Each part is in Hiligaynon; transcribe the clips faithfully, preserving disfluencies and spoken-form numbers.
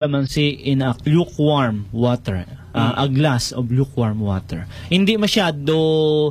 Kalamansi in a lukewarm water. Ah, a glass of lukewarm water. Hindi masyado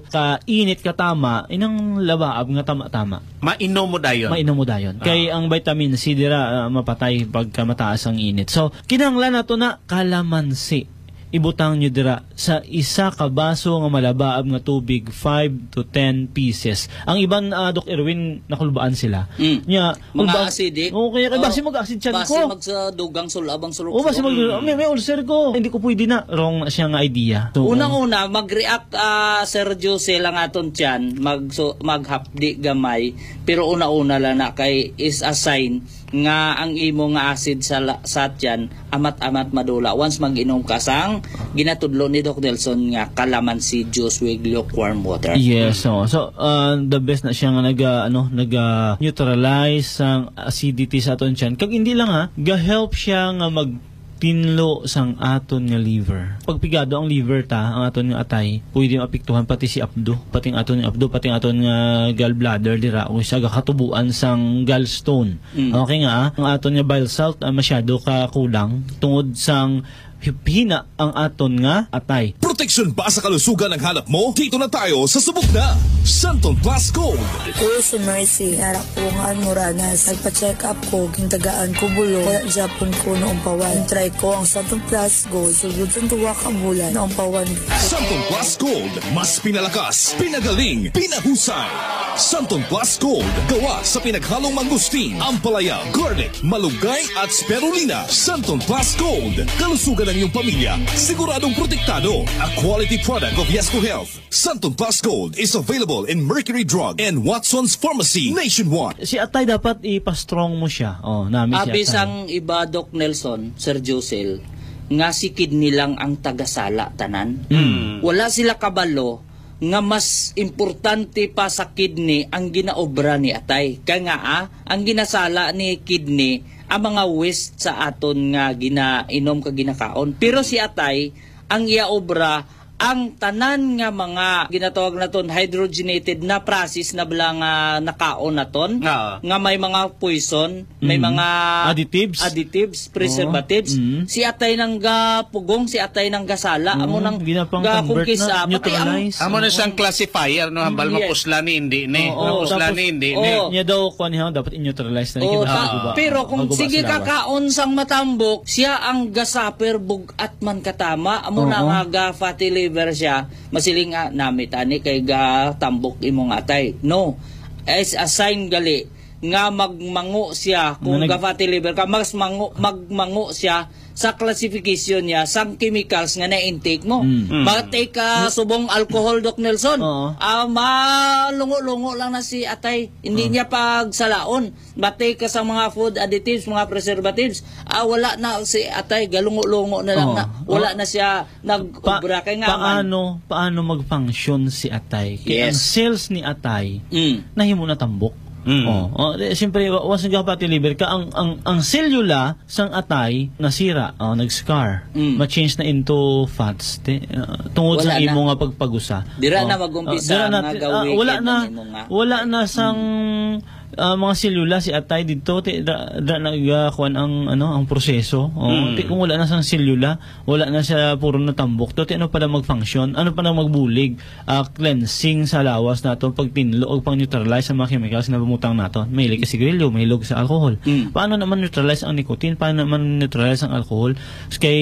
ka init, ka tama, inang labaab nga tama-tama. Mainom mo dayon. Mainom mo dayon. Ah. Kay ang vitamin C dira, ah, mapatay pagka mataas ang init. So, kinahanglan nato na kalamansi. Ibutang nyo dira sa isa ka baso nga malabaab nga tubig, five to ten pieces. Ang iban, ah, Doc Erwin, nakulbaan sila. Mm. Nya, Mga magba-, acidic. Oo, kaya, kaya basi Oh, mag-acid tiyan basi ko. Mag sa dugang sulab ang sulok-sulok. Oo, basi mag-, Mm. may, may ulcer ko. Hindi ko pwede na. Wrong na siya nga idea. So, Unang-una, mag-react, ah, Sir Jose, lang aton tiyan, mag-, so, maghapdi gamay, pero una-una lang na kay is a sign nga ang imo nga acid sa la-, sa tiyan amat-amat madula once mag-inom ka sang ginatudlo ni Doc Nelson nga calamansi juice with lukewarm water. Yes, so, so, uh, the best na siya nga naga, ano, naga neutralize sang acidity sa aton tiyan. Kag hindi lang, ha, ga-help siya nga magtinlo sang aton nga liver. Pag pigado ang liver ta, ang aton nga atay, pwede maapektuhan pati si apdo, pati ang aton nga apdo, pati ang aton nga gallbladder dira, o siya gakatubuan sang gallstone. Mm. Okay nga, ah, ang aton nga bile salt, ah, masyado ka kulang tungod sang hip-, hina ang aton nga atay. Proteksyon ba sa kalusugan ang hanap mo? Dito na tayo sa subok na Santon Plus Gold. Ako si Mercy, anak ko nga Almoranas. Nagpa-check up ko, gintagaan ko bulong. Wala gyapon ko naumpawan. Try ko ang Santon Plus Gold. Sugod sa duwa ka bulan, naumpawan. Santon Plus Gold, mas pinalakas, pinagaling, pinahusay. Santon Plus Gold, gawa sa pinaghalong mangustin, ampalaya, garlic, malunggay at spirulina. Santon Plus Gold, kalusugan ng iyong pamilya, siguradong protektado. A quality product of Yes to Health. Santon Plus Gold is available in Mercury Drug and Watson's Pharmacy nationwide. Si atay dapat ipa-strong mo siya. Oh, nami si Abi atay. Sang iba, Doc Nelson, Sir Josel, nga si kidney lang ang tagasala tanan. Mm. Wala sila kabalo nga mas importante pa sa kidney ang ginaobra ni atay. Kaya nga, ah, ang ginasala ni kidney ang mga waste sa aton nga ginainom kag ginakaon. Pero si atay, ang iya obra, ang tanan nga mga ginatawag naton hydrogenated na process na bala nga nakaon naton, Oo. nga may mga poison, may Mm. mga Additives? additives, preservatives. Oo. Mm. Si atay nang gapugong, si atay nang gasala, amo Oo, nang ginapang-convert gakungkis na, up. Pati ang neutralize. Amo na siyang Oo. classifier, no? Hambal Yes. mapusla ni, hindi ni. Oo, Mapusla tapos, ni, hindi ni. Oo. Niya daw, kuwan niya, dapat i-neutralize na Oo, yung ta-, maguba. pero kung Maguba sige sa lawas. kakaon sang matambok, siya ang gasaper bug-at man katama, amo na Oo. nga ga-fatty liver siya, masiling nga, "Namit ani kay gatambok imong atay." No. Is a sign gali nga magmango siya kung Nga nag- ga-fatty liver ka, mas mango, magmango siya sa classification niya sang chemicals nga na-intake mo. Mm. Mm. Batay ka subong alcohol, Doc Nelson. Oo. Ah, malungo-lungo lang na si atay. Hindi Oo. niya pagsalaon. Batay ka sa mga food additives, mga preservatives. Ah, wala na si atay, galungo-lungo na lang Oo. na. Wala Oo. na siya nag-obra. Pa-, Kay nga man. paano, paano mag-function si atay? Kay ang Yes. cells ni atay, Mm. nahimo na tambok. Mm. Oh, oh, di, siyempre, wa-, once nagka-fatty liver ka, ang, ang, ang selula sang atay nasira, oh, nag-scar. Mm. Ma-change na into fats, te, ah, tungod Wala sa imo na. nga pagpagusa. Dira Oh, na mag-umpisa ah, dira na, nga ah, gawin wala kay na, ang imo nga wala na sang, Mm. ah, mga selula si atay dito, te, da, da nag, ah, kuwan ang, ano, ang proseso. Oh, Mm. te, kung wala na sang selula, wala na siya puro natambok to, ti ano pa na mag-function? Ano pa na magbulig? Ah, cleansing sa lawas nato, pagtinlo o pang-neutralize sa mga chemicals na bumutang nato. Mahilig ka sigarilyo, mahilig sa alcohol. Mm. Paano naman neutralize ang nicotine? Paano naman neutralize ang alcohol? Kay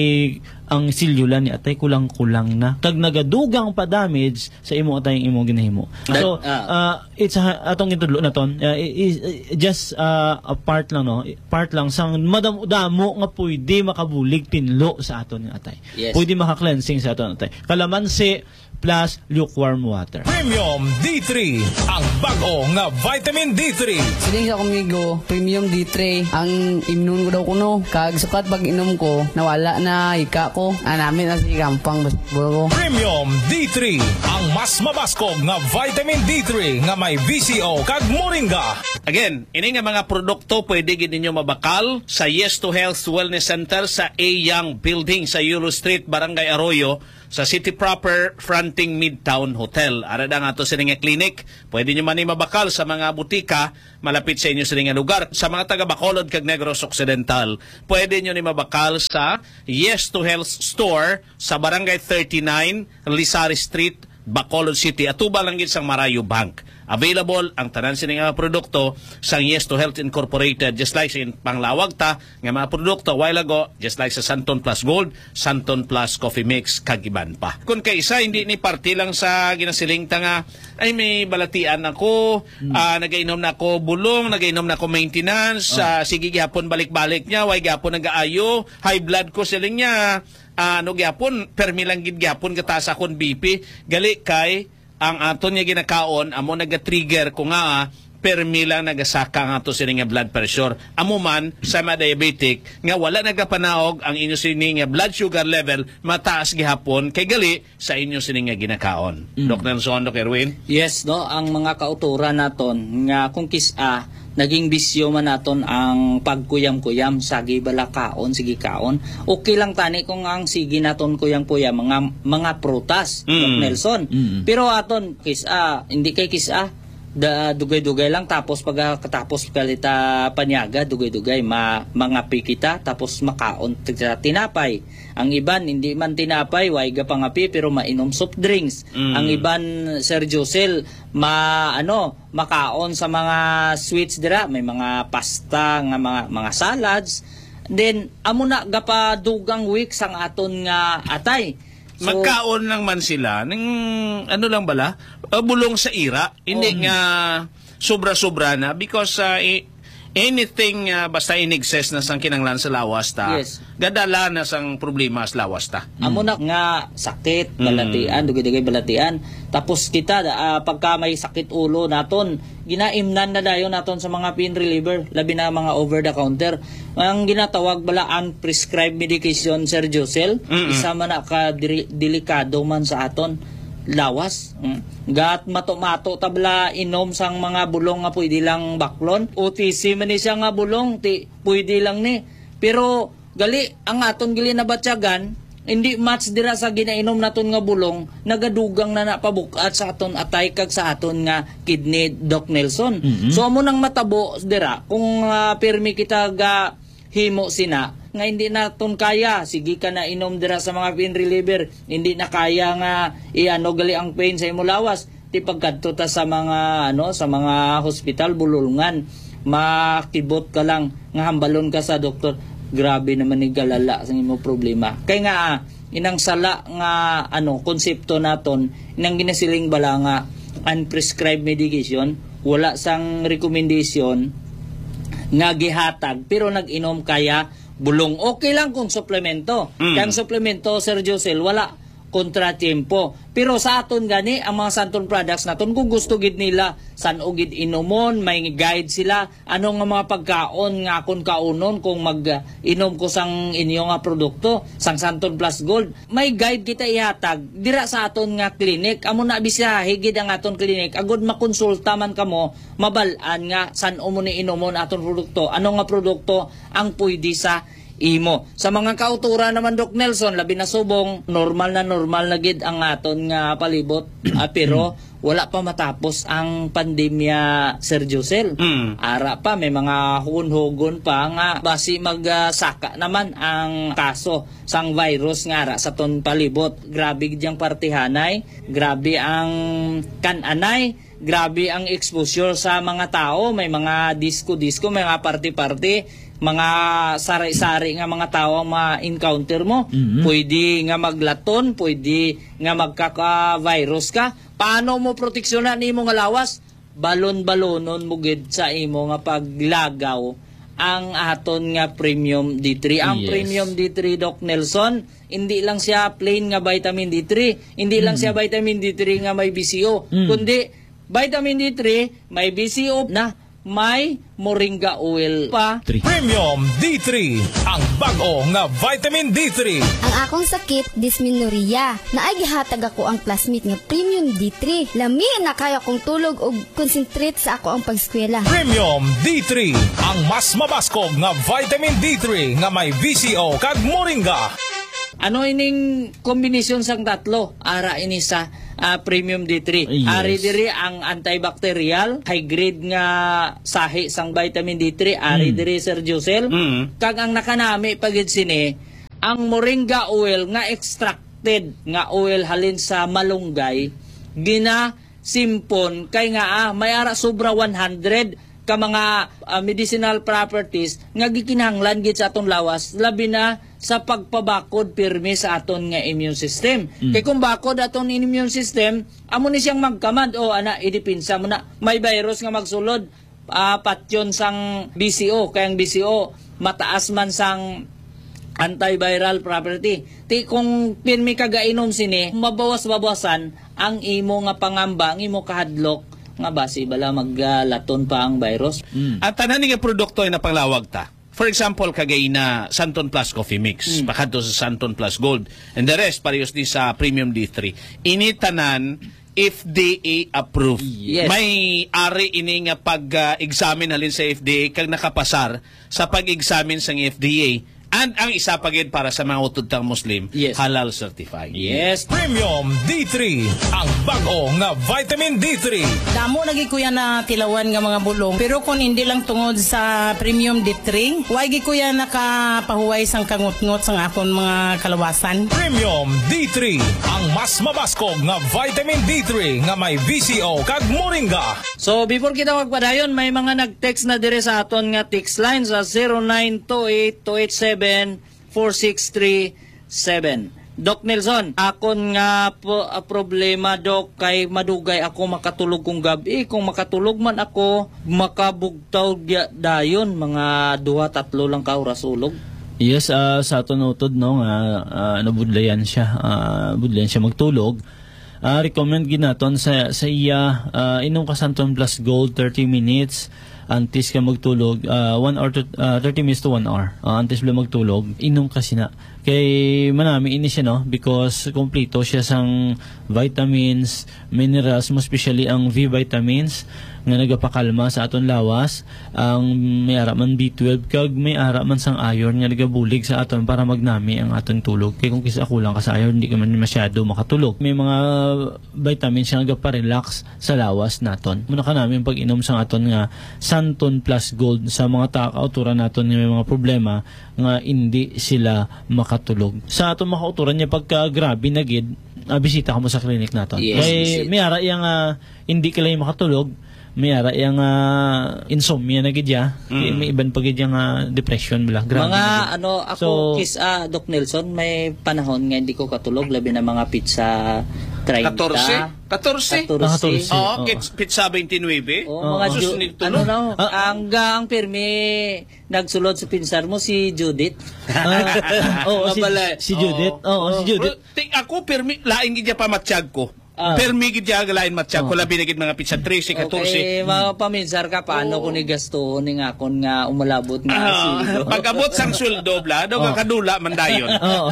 ang selula ni atay kulang-kulang na. Kag nagadugang pa damage sa imo atay ang imo ginahimo. That, So, ah, ah, it's a, atong gintudlo naton. Ah, i-, i-, just, ah, a part lang, no? Part lang sang madamo-damo nga pwede makabulig tinlo sa aton nga atay. Yes. Pwede maka-cleansing sa aton atay. Kalamansi plus lukewarm water. Premium D three, ang bag-o nga vitamin D three. Siling sa akong amigo, Premium D three ang imnon ko daw kuno. Kag sukat pag-inom ko, nawala na hika ko. Anami na si gampang basketball ko. Premium D three, ang mas mabaskog nga vitamin D three nga may V C O kag moringa. Again, ini nga mga produkto pwede gid ninyo mabakal sa Yes to Health Wellness Center sa A Young Building sa Yulo Street, Barangay Arroyo, sa City Proper, fronting Midtown Hotel. Ara da nga ato sini nga clinic. Pwede nyo man ni mabakal sa mga butika malapit sa inyo sini nga lugar. Sa mga taga Bacolod kag Negros Occidental, pwede nyo ni mabakal sa Yes to Health Store sa Barangay thirty-nine, Lisari Street, Bacolod City. Atubang lang gid sang Marayo Bank. Available ang tanan sini nga produkto sang Yes to Health Incorporated, just like sa in-, panglawag ta nga mga produkto a while ago, just like sa Santon Plus Gold, Santon Plus Coffee Mix, kag iban pa. Kung kay isa, hindi ni parte lang sa ginasiling ta nga, "Ay, may balatian ako, ah, nagainom na ako bulong, nagainom na ako maintenance, ah, sige gihapon balik-balik niya, way gihapon nagaayo, high blood ko," siling niya, ah, ano gihapon, permi lang gid gihapon gataas akon B P, gali kay ang aton nga ginakaon amo nagatrigger ko nga, ah, permi lang nagasaka ang ato sini nga blood pressure. Amo man sa mga diabetic nga wala nagapanaog ang inyo sini nga blood sugar level, mataas gihapon kay gali sa inyo sini nga ginakaon. Mm. Doc Nelson, Doc Erwin? Yes, no, ang mga kauturan naton nga kung kis-a naging bisyo man naton ang pagkuyam-kuyam, sagi bala kaon, sige kaon. Okay lang tani kung ang sige naton kuyam-kuyam mga, mga prutas, Mm. Doc Nelson. Mm. Pero aton kis-a, hindi kay kis-a, da, dugay-dugay lang, tapos pagkatapos kalita panyaga, dugay-dugay, ma, mangapi kita, tapos makaon kita tinapay. Ang iban, hindi man tinapay, way gapangapi, pero mainom soft drinks. Mm. Ang iban, Sir Josel, ma, ano, makaon sa mga sweets dira, may mga pasta nga mga, mga salads. Then, amo na gapadugang week sang aton nga atay. So, magkaon lang man sila ning, ano lang bala, ah, bulong sa ira, hindi Oh. nga sobra-sobra na because, ah, i-, anything, ah, basta in excess na sang kinanglan sa lawas ta, Yes. gadala na sang problema sa lawas ta. Amo na nga sakit, Mm. balatian, dugay-dugay balatian. Tapos kita, ah, pagka may sakit ulo naton, ginaimnan na dayon naton sa mga pain reliever, labi na mga over the counter. Ang ginatawag bala unprescribed medication, Sir Josel, Mm-mm. isa man na ka diri-, delikado man sa aton lawas. Mm. Gat mato-mato ta bala inom sang mga bulong nga pwede lang baklon. O T C man ni siya nga bulong, ti, pwede lang ni. Pero gali, ang aton gali nabatyagan, hindi match dira sa ginainom naton nga bulong, nagadugang na na pabuk-at sa aton atay kag sa aton nga kidney, Doc Nelson. Mhm. So, amo nang matabo dira, kung, ah, pirmi kita ga himo sina, nga hindi naton kaya, sige ka na inom dira sa mga pain reliever, hindi na kaya nga iano gali ang pain sa imo lawas. Ti pagkadto ta sa mga, ano, sa mga hospital, bulolngan, makibot ka lang nga hambalon ka sa doktor, "Grabe naman ni galala sa imo problema." Kay nga, ah, inang sala nga, ano, konsepto naton, inang ginasiling bala nga unprescribed medication, wala sang recommendation nga gihatag, pero nag-inom kaya bulong. Okay lang kung suplemento. Mm. Kay ang suplemento, Sir Josel, wala kontratiempo. Pero sa aton gani, ang mga Santon products naton, kung gusto gid nila, san-o gid inumon, may guide sila, ano nga mga pagkaon nga akon kaunon kung mag-inom ko sang inyo nga produkto, sang Santon Plus Gold. May guide kita ihatag dira sa aton nga clinic. Amo na, bisiyahe gid ang aton clinic, agod makonsulta man kamo, mabal-an nga san-o mo ni inumon aton produkto, ano nga produkto ang pwede sa imo. Sa mga kauturan naman, Doc Nelson, labi na subong, normal na normal na gid ang aton nga palibot, ah, pero wala pa matapos ang pandemya, Sir Josel. Mm. Ara pa, may mga hugon-hugon pa nga basi mag, ah, saka naman ang kaso sang virus nga ara sa aton palibot. Grabe gid yang partihanay, grabe ang kan-anay, grabe ang exposure sa mga tao. May mga disco-disco, may mga party-party, mga sari-sari nga mga tao ang ma-encounter mo. Mhm. Pwede nga maglaton, pwede nga magkaka-virus ka. Paano mo proteksyonan nimo nga lawas? Balon-balonon mo gid sa imo nga paglagaw ang aton nga Premium D three. Ang Yes. Premium D three, Doc Nelson, hindi lang siya plain nga vitamin D three, hindi lang Mm. siya vitamin D three nga may B C O, Mm. kundi vitamin D three, may B C O na, may moringa oil pa. Three. Premium D three, ang bag-o nga vitamin D three. Ang akong sakit, dysmenorrhea. Naay gihatag ako ang classmate nga Premium D three. Lami na kaya kong tulog ug concentrate sa ako ang pag-eskwela. Premium D three, ang mas mabaskog nga vitamin D three nga may V C O kag moringa. Ano ining kombinasyon sang tatlo? Ara ini sa, ah, Premium D three. Yes. Ari diri ang antibacterial, high grade nga sahi sang vitamin D three, ari Mm. diri, Sir Josel. Mm. Kag ang nakanami pa gid sini, ang moringa oil nga extracted nga oil halin sa malunggay, ginasimpon kay nga, ah, may ara sobra one hundred ka mga, ah, medicinal properties nga gikinahanglan gid sa aton lawas, labi na sa pagpabakod pirmi sa aton nga immune system. Mm. Kay kung bakod aton immune system, amo ni siyang magkamad, o ana, idepensa mo na. May virus nga magsulod, ah, patyon sang B C O, kay ang B C O mataas man sang antiviral property. Ti kung pirmi ka gainom sini, mabawas-bawasan ang imo nga pangamba, ang imo kahadlok nga basi bala maglaton pa ang virus. Mm. Ang tanan nga produkto ay napanglawag ta. For example, kagay na Santon Plus Coffee Mix, Mm. pakadto sa Santon Plus Gold, and the rest, parehas ni sa Premium D three. Ini tanan F D A approved. Yes. May ari ini nga pag-examine halin sa F D A kag nakapasar sa pag-examine sang F D A. And ang isa pa gid para sa mga utod tang Muslim, Yes. halal certified. Yes. Premium D three, ang bag-o nga vitamin D three. Damo na gid, kuya, na tilawan nga mga bulong. Pero kung hindi lang tungod sa Premium D three, wa gid, kuya, nakapahuway sang kangutngot sang akon mga kalawasan. Premium D three, ang mas mabaskog nga vitamin D three nga may V C O kag moringa. So, before kita magpadayon, may mga nag-text na dire sa aton nga text line sa zero nine two eight two eight seven four six three seven. Doc Nelson, akon nga po, ah, problema, Doc, kay madugay ako makatulog kung gabi. Kung makatulog man ako, makabugtaw gya-, dayon, mga duha, tatlo lang ka oras ulog. Yes, ah, sa aton utod, no, nga, ah, nabudlayan siya, ah, budlayan siya magtulog. Ah, recommend gid naton sa, sa iya, ah, inom ka Santon Plus Gold thirty minutes antes ka magtulog, ah, one hour to, ah, thirty minutes to one hour. Ah, antes bala magtulog, inom ka sina. Kay manami ini siya, no, because kompleto siya sang vitamins, minerals, mo especially ang V vitamins nga nagapakalma sa aton lawas. Ang may ara man B twelve kag may ara man sang iron nga nagabulig sa aton para magnami ang aton tulog. Kay kung kis-a kulang ka sa iron, di ka man masyado makatulog. May mga vitamins nga nagaparelax sa lawas naton. Muna ka namin pag-inom sang aton nga Santon Plus Gold sa mga ta-, kauturan naton nga may mga problema nga hindi sila makatulog. Sa aton mga kauturan niya, pagka grabe na gid, ah, bisita ka mo sa clinic naton. Yes, Kay bisita. may ara yang, ah, hindi ka lang makatulog, may ara yang, ah, insomnia na gid ya. Mm. May iban pa gid yang, ah, depression bala. Grabe Mga na gid. ano, ako, So, kis-, ah, Doc Nelson, may panahon nga hindi ko katulog, labi na mga pitsa treinta. Katorse? Katorse? Katorse. Ah, katorse. Oo, Oo. kits-, pitsa twenty-nine. Oh, Oo. mga Sus, Ju-, nagtulog. ano na, Ah. ang, ang pirmi nagsulod sa pinsar mo, si Judith. Ah, oo, si, Mabalay. si Judith. Oo. Oo, si Oo. Judith. Pero, ti-, ako, pirmi, lain gid ya pa matsyag ko. Ah. Pirmi gid ya, lain matsyag ko, Oo. labi na gid mga pitsa trese, katorse. Okay, mapaminsar ka, paano Oo. ko ni gastuhon ni nga akon nga umalabot nga Ah, sweldo? pag-abot sang sweldo, bla, daw Oo. kakadula man dayon. Oo.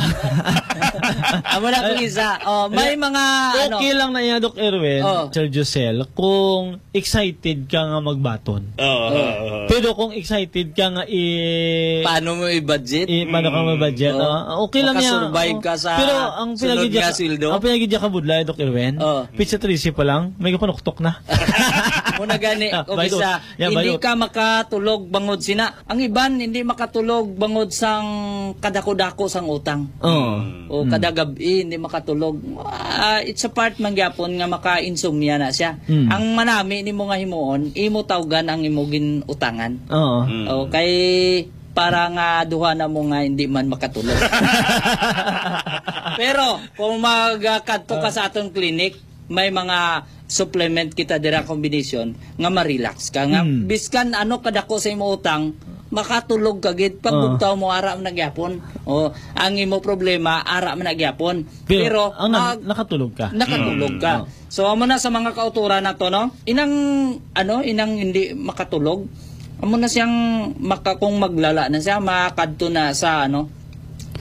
Amo na kung isa. Oh, may Ay, mga, ano. okay lang na iya, Doc Erwin, Oh. Sir Josel, kung excited ka nga magbaton. Oo, oo, oo. Pero kung excited ka nga i- Paano mo i-budget? i-, paano ka Mm. ma-budget, Oo. ah, okay lang yan. Makasurvive Oo. ka sa Pero ang sunod pinagidya nga ka, sweldo? ang pinagidya ka budlay, Doc Erwin, Oo. pitsa trese pa lang, may kapanuktok na. Muna gani, Ah, kung bayo. isa, Yeah, hindi bayo. ka makatulog bangod sina. Ang iban, hindi makatulog bangod sang kadako-dako sang utang. Oo. Mm. O Mm. kada gab-i, hindi makatulog. Ah, it's a part man gyapon nga maka-insomnia na siya. Mm. Ang manami nimo nga himuon, imo tawgan ang imo gin-utangan. Oo. Mm. O, kay para nga duha na mo nga hindi man makatulog. Pero, kung magkadto ka Ah. sa atong clinic, may mga supplement kita dira, combination nga ma-relax ka nga Mm. biskan ano kadako sa imo utang, makatulog ka gid. Pag Ah. bugtaw mo, ara man na gyapon. O, ang imo problema, ara man na gyapon. Pero, Pero, ang nag-, mag-, nakatulog ka. nakatulog Mm. ka. Oh. So, amo na sa mga kauturan nato, no? Inang, ano, inang hindi makatulog. Amo na siyang maka-, kung maglala na siya, makadto na sa, ano,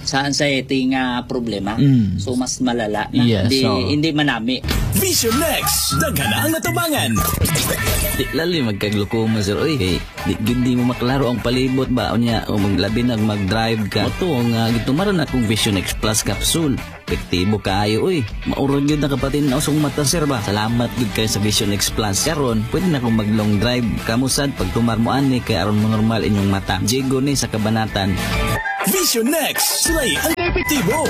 sa anxiety nga problema. Mm. So, mas malala na. Yes, Di, oo. Hindi manami. Vision X, daghan na ang natubangan. Di lalim magkaglukuma, sir. Uy, hey, di, di mo maklaro ang palibot ba? Unya, o maglabi na mag-drive ka. Ito nga, gitumaran akong Vision X Plus capsule. Epektibo kaayo, uy. Maurag yun na kapatin na usong mata, sir, ba? Salamat gid kay sa Vision X Plus. Karon, pwede na akong mag-long drive. Kamusad, pagtumar mo ani, kay aron mo normal inyong mata. Jigo ni sa kabanatan. Vision X, sulay ang epektibo.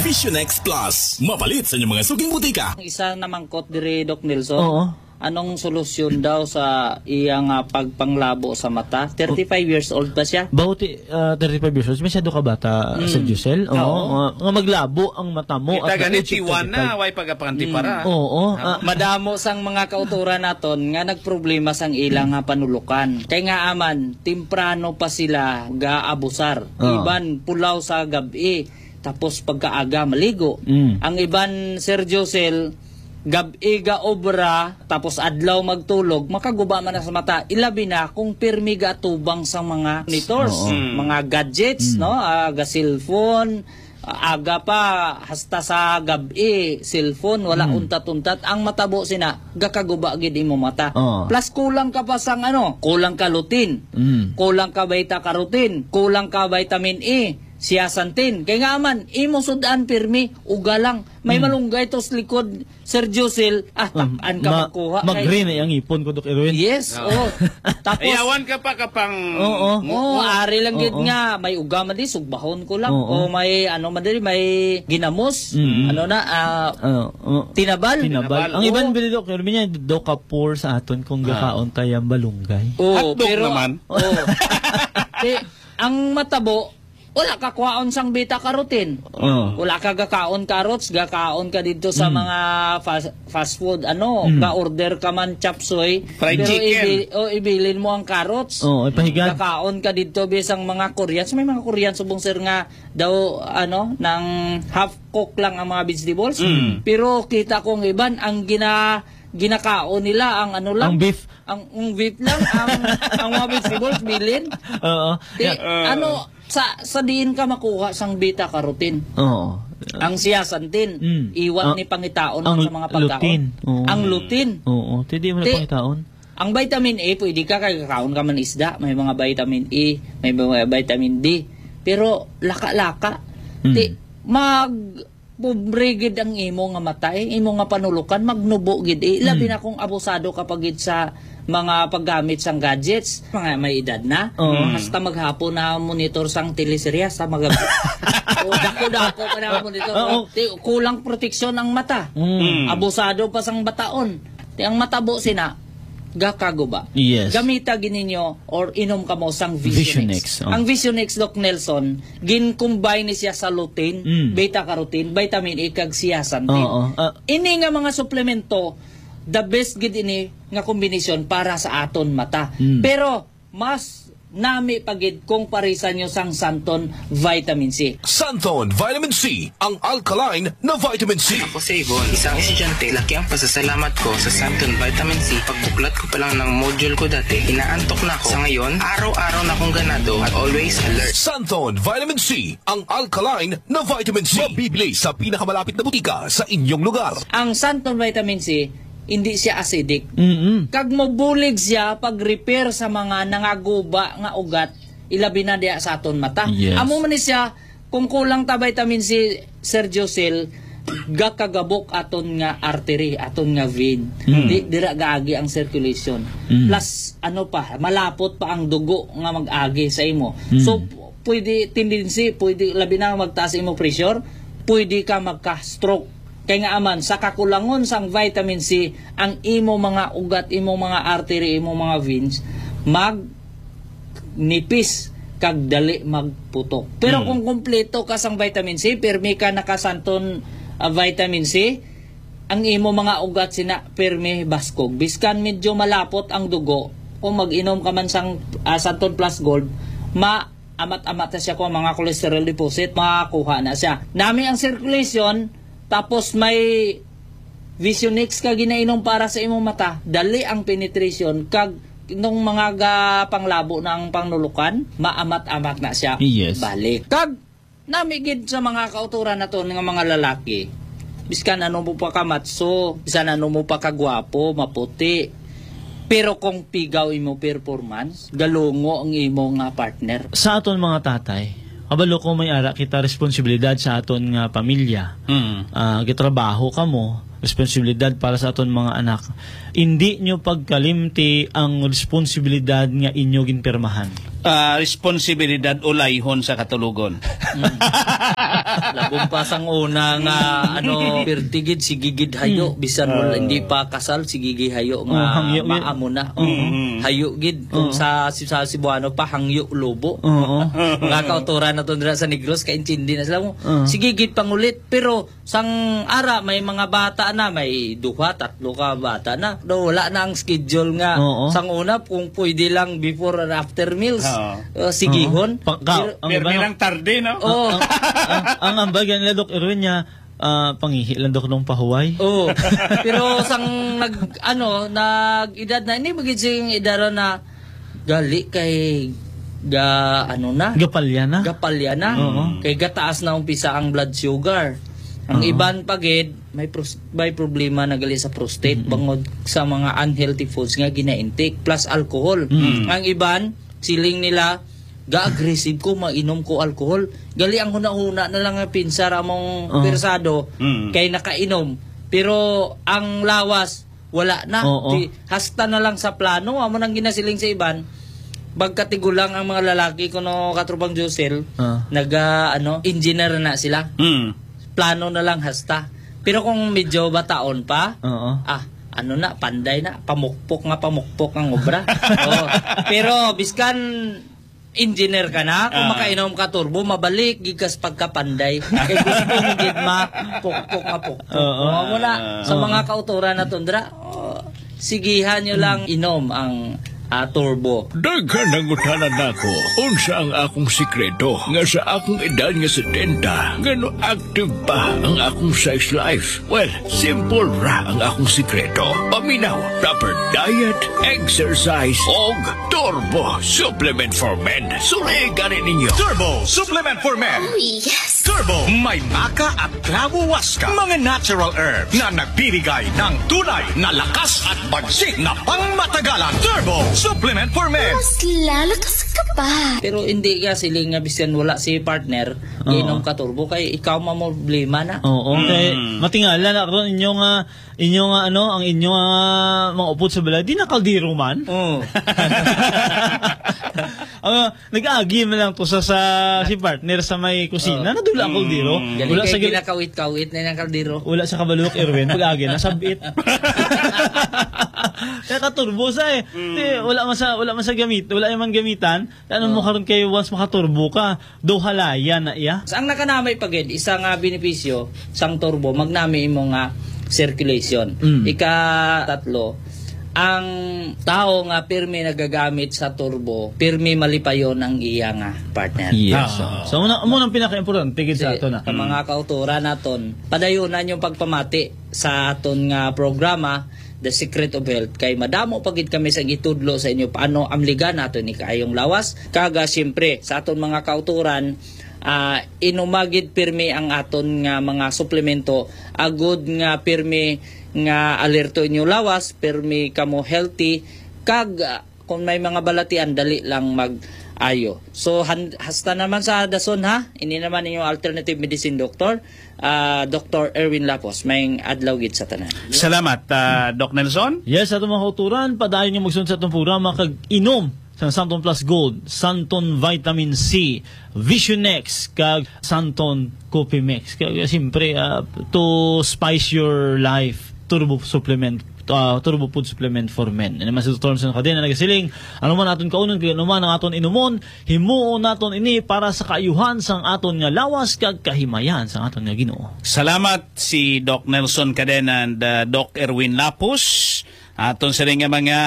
Vision X Plus, mapalit sa inyong mga suking butika. Ang isa na mangkot diri, Doc Nelson. Oo. Anong solusyon daw sa iya nga pagpanglabo sa mata? Thirty-five years old pa siya. Bauti, ah, thirty-five years old. Masyado ka bata, Mm. Sir Giselle. Oo, Oo. nga, nga maglabo ang mata mo Kita at the gani, age of tiwan na, twenty-five. Way pagapanganti Mm. para. Oo, Ha? ah. Madamo sang mga kauturan naton nga nagproblema sang ilang nga panulukan. Kay nga aman, temprano pa sila gaabusar. Oo. Iban pulaw sa gab-i. Tapos pagkaaga, maligo. Mm. Ang iban, Sir Josel, gab-i ga obra, tapos adlaw magtulog, makaguba man na sa mata. Ilabi na kung pirmi ga atubang sa mga monitors, Oo. Mm. mga gadgets, Mm. no? Ah, ga cellphone, ah, aga pa, hasta sa gab-i, cellphone, wala Mm. untat-untat. Ang matabo sina, gakaguba gid imo mata. Oo. Plus kulang ka pa sang ano, kulang ka lutein, Mm. kulang ka beta carotene, kulang ka vitamin E, siya santin. Kay nga man, imo sud-an pirmi, uga lang. May Mm. malunggay to sa likod, Sir Josel, ah, Um, tak-an ka ma-, magkuha. Kay mag-green ay ang ipon ko, Doc Erwin. Yes, Ah. oh. Tapos, Ayawan ka pa kapang Oo. mu-, oh, mu-, ari lang gid Oo. nga, may uga man di, sugbahon ko lang. Oo. O may, ano man di, may ginamos. Mm. Ano na, ah, Oo, oo. tinabal. Tinabal. Tinabal. Ang Oo. iban bili, Doc Erwin, niya, do ka poor sa aton kung Ah. gakaon tayo ang balunggay. Oo, Hotdog pero, naman. Oo. Ti-, ang matabo, wala ka kwaon sang beta carotene. Oh. Wala ka gakaon carrots, gakaon ka didto sa Mm. mga fast, fast food, ano, Mm. ga-order ka man chop suey, Fried pero chicken. ibi-, o, ibilin mo ang carrots. Oh, ipahigan. Gakaon ka didto bisang mga Koreans. May mga Korean subong, sir, nga daw, ano, nang half cook lang ang mga vegetables. Mm. Pero kita ko ang iban, ang gina-, ginakaon nila, ang ano lang. Ang beef. Ang, ang beef lang, ang, ang mga vegetables, bilin. Oo. Ti-, Yeah. ano, sa, sa diin ka makuha sang beta carotene? Oo. Ang siya santin, Mm. iwat Ang, ni pangitaon ang sa mga pagkaon. lutein. Oo. Ang lutein. Oo. Ti di mo na Ti-, pangitaon. ang vitamin A, pwede ka, kay kaon ka man isda, may mga vitamin A, may mga vitamin D. Pero laka-laka. Mm. Ti, mag, pobre gid ang imo nga mata, eh, imo nga panulukan, magnubo gid, eh. Labi Mm. na kung abusado ka pa gid sa mga paggamit sang gadgets, mga may edad na. Oo. Hasta maghapon na monitor sang teleserye, hasta mag-, o, dako-dako ka na monitor. Oo. Ti-, kulang proteksyon ang mata. Mm. Mm. Abusado pa sang bataon. Ti ang matabo sina, gakaguba. Yes. Gamita gid ninyo or inom kamo sang Vision X. Vision X, oh. Ang Vision X, Doc Nelson, gin-combine ni siya sa lutein, Mm. beta carotene, vitamin A, kag zeaxanthin. Oo, ah. Ini nga mga suplemento, the best gid ini nga kombinasyon para sa aton mata. Mm. Pero mas nami pa gid kung parisan nyo sang Santon Vitamin C. Santon Vitamin C, ang alkaline na vitamin C. Ako si Yvonne, isang estudyante. Laki ang pasasalamat ko sa Santon Vitamin C. Pagbuklat ko pa lang ng module ko dati, inaantok na ako. Sa ngayon, araw-araw na akong ganado at always alert. Santon Vitamin C, ang alkaline na vitamin C. Mabibili sa pinakamalapit na butika sa inyong lugar. Ang Santon Vitamin C, hindi siya acidic. Mm-mm. Kag mobulig siya pag-repair sa mga nangaguba nga ugat, ilabi na diha sa aton mata. Yes. Amo man ni siya, kung kulang ta vitamin C, Sir Josel, gakagabok aton nga artery, aton nga vein. Mm. Di, dira gaagi ang circulation. Mm. Plus, ano pa, malapot pa ang dugo nga mag-agi sa imo. Mm. So, pwede tendency, pwede labi na magtaas imo pressure, pwede ka magka-stroke. Kay nga aman, sa kakulangon sang vitamin C, ang imo mga ugat, imo mga artery, imo mga veins, mag nipis kag dali magputok. Pero Mm. kung kompleto ka sang vitamin C, pirmi ka nakasanton, ah, vitamin C, ang imo mga ugat sina pirmi baskog. Biskan medyo malapot ang dugo, kung mag-inom ka man sang, ah, Santon Plus Gold, ma-amat-amat na siya kung mga cholesterol deposit, makuha na siya. Nami ang circulation, tapos may Visionix ka ginainom para sa imong mata, dali ang penetration, kag nung mga ga-, panglabo na ang pangnulukan, maamat-amat na siya Yes. balik. Kag Nami gid sa mga kauturan naton nga mga lalaki, biskan ano mo pa kamatso, bisan ano mo pa kagwapo, maputi, pero kung pigaw imo performance, galungo ang imo nga partner. Sa aton mga tatay, kabalo ko may ara kita responsibilidad sa aton nga pamilya. Mm. Ah, gitrabaho kamo, responsibilidad para sa aton mga anak. Indi nyo pagkalimti ang responsibilidad nga inyo ginpirmahan. Ah, responsibilidad ulayhon sa katulogon. Mm. Labong pa sang una nga, ano, pirti gid, sige gid hayo, Mm. bisan wala, Ah. hindi pa kasal, sige gid hayo nga Oh, hangyo gid. maamo na. Oo. Mm. Hayo gid. Kung Oo. sa, sa Cebuano pa, hangyo lobo. Oo. Mga kauturan naton dira sa Negros, kaintindi na sila mo. Oo. Sige gid pangulit, pero sang ara, may mga bata na, may duha, tatlo ka bata na. Do, wala na ang schedule nga. Oo. Sang una, kung pwede lang before or after meals, Oo. uh, sigihon. Oo. Pangkaon. Pero Ang iba Pirmi na lang tarde, no? Oo. Ang, ang, ang ambag yan nila, Doc Erwin, niya, ah, pangihi lang, Doc, nung pahuway. Oo. Pero sang nag, ano, nag-edad na, hindi magiging edad na gali kay ga, ano na? Gapalya na? Gapalya na. Oo. Kay gataas na umpisa ang blood sugar. Ang Oo. iban pa gid, may pros-, may problema na gali sa prostate Mm-mm. bangod sa mga unhealthy foods nga gina-intake plus alcohol. Mm. Ang iban, siling nila, ga-aggressive ko, mainom ko alcohol. Gali ang hunahuna na lang nga pinsar among Oo. persado Mm. kay nakainom. Pero ang lawas, wala na. Oo. Di, hasta na lang sa plano, amo nang ginasiling sa iban. Pagkatigulang ang mga lalaki, kuno katropang Josel, Ah. naga, ano, engineer na sila. Mm. Plano na lang hasta. Pero kung medyo bataon pa, Oo. ah, ano na, panday na, pamukpok nga pamukpok ang obra. Oo. Pero biskan engineer ka na, kung Ah. makainom ka turbo, mabalik gid ka sa pagkapanday. Kay gusto mo gid ma pukpok nga pukpok. Oo. Oo, mo na. Sa Oo. mga kauturan na tundra, oh, sigihan nyo lang inom ang, ah, turbo. Daghan ang utana nako. Unsa ang akong sikreto nga sa akong edad nga setenta, ngano active pa ang akong sex life? Well, simple ra ang akong sikreto. Paminaw, proper diet, exercise, og Turbo Supplement for Men. Suli gani ninyo. Turbo Supplement for Men. Oh, yes. Turbo, may maca at clavo huasca, mga natural herb na nagbibigay ng tunay na lakas at bagsik na pangmatagalan. Turbo Supplement for Men. Mas lalakas ka pa. Pero hindi ka siling nga bisan wala si partner, Oo. inom ka turbo kay ikaw mamroblema na. Oo, kay Mm. matingala na karon inyo nga Inyo nga, ano, ang inyo nga mga upod sa balay, di na kaldero man. Oo. Ah, nag-agi man lang to sa, sa si partner sa may kusina, Oo. nadula ang kaldero. Mm. Galing Wala kay sa gal- ginakawit-kawit na yung kaldero. Wala sa kabalok, Erwin, pag-agi na, sabit. Kaya katurbo sa eh. Mm. Di, wala man sa, wala man sa gamit, wala man gamitan. Ano mo Oh. karon kay once makaturbo ka, do halaya na iya? Sa ang nakanamay pa gid, isa nga benepisyo sang turbo, magnami imo nga circulation. Mm. Ika-tatlo, ang tawo nga pirmi nagagamit sa turbo, pirmi malipayon ang iya nga partner. Yes. Ah. So, muna, muna ang pinaka-importante gid sa Kasi ato na. Sa Mm. mga kauturan naton, padayunan yung pagpamati sa aton nga programa, The Secret of Health, kay madamo pa gid kami sa gitudlo sa inyo paano amligan nato ni kaayong lawas. Kag, ah, siyempre, sa aton mga kauturan, ah, inumagid pirmi ang aton nga mga suplemento, agud nga pirmi nga alerto inyo lawas, pirmi kamo healthy, kag, ah, kung may mga balatian, dali lang mag-ayo. So, han-, hasta naman sa dason, ha? Ini naman inyong alternative medicine doctor, ah, Doctor Erwin Lapos. Maayong adlaw gid sa tanan. Salamat, ah, Doc Nelson. Yes, ato mga kauturan, padayon nga magsunod sa atong programa kag inom sa Santon Plus Gold, Santon Vitamin C, Vision X, kag Santon Coffee Mix. Kag, siyempre, ah, to spice your life, turbo supplement, ah, turbo food supplement for men. Ano man si Doctor Nelson Cadena nagasiling, ano man aton kaunon, kag ano man ang aton inumon, himuon naton ini para sa kaayuhan sang aton nga lawas kag kahimayan sang aton nga Ginoo. Salamat si Doc Nelson Cadena and, uh, Doc Erwin Lapus. Aton sini nga mga,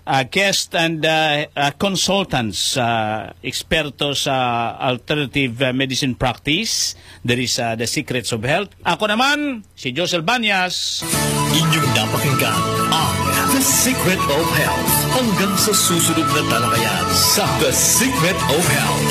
uh, guest and, uh, uh, consultants, uh, eksperto sa alternative, uh, medicine practice diri sa The Secrets of Health. Ako naman, si Josel Banyas. Inyong napakinggan ang The Secret of Health. Hanggang sa susunod na talakayan sa The Secret of Health.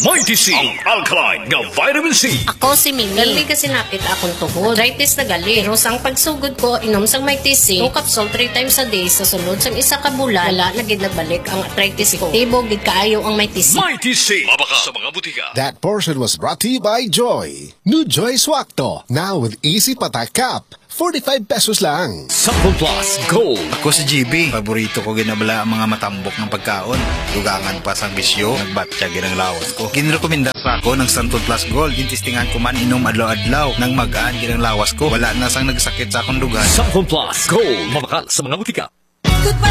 Mighty C, ang alkaline nga vitamin C. Ako si Mimi. Permi ka sinapit akong tuhod. Arthritis na gali. Pero sang pagsugod ko, inom sang Mighty C, two capsule three times a day sa sulod sang isa ka bulan, wala na gid nagbalik ang arthritis ko. Epektibo gid kaayo ang Mighty C. Mighty C, mabakal sa mga butika. That portion was brought to you by Joy. New Joy Swakto, now with easy patak cup. Forty-five pesos lang. Sample Plus Gold. Ako si G B. Paborito ko ginabala ang mga matambok ng pagkaon. Dugangan pa sang bisyo, nagbatya ginang lawas ko. Ginrekomenda sa ako ng Santon Plus Gold. Gintistingan ko man inom adlaw-adlaw nang magaan ginang lawas ko. Wala na sang nagsakit sa akong dugan. Sample Plus Gold. Mabakal sa mga butika. Good pa